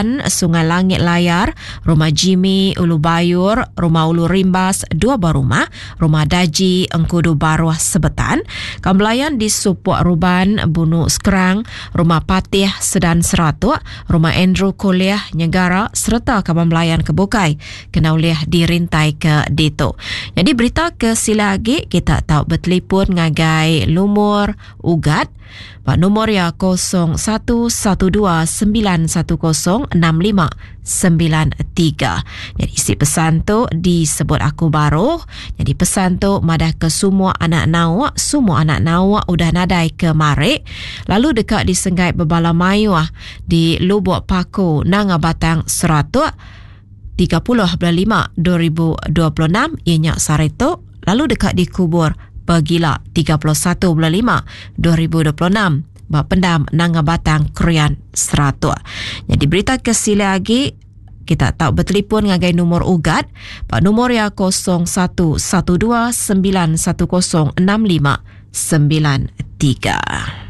Bulan, Sungai Langit Layar, Rumah Jimmy, Ulu Bayur, Rumah Ulu Rimbas, dua buah rumah, Rumah Daji, Engkudu Baruh, Sebetan. Kaban belayan di Supok Ruban, Bunu Skrang, Rumah Patih, Sedan Seratok, Rumah Andrew Kuliah, Nyegara sereta kaban belayan ke bukai kena ulih dirintaika ditu. Nyadi berita ke sila agi kita tau betelipun ngagai lumur Ugat ba numur iya 0112910659. Nyadi isi pesan tu disebut aku baru. Nyadi pesan tu madah ke semua anak nauk, semua anak nauk udah nadai ke marik lalu deka disenggai bebala mayuh di Lubok Paku Nanga Batang Seratuk 30 bulan 5 2026 iya nya sehari tu lalu deka dikubur pegila 31 bulan 5 2026 ba pendam Nanga Batang Krian Seratuk. Nyadi berita ke silik agi kita tau betelipon ngagai numur Ugat ba numur iya 0112 910 6593.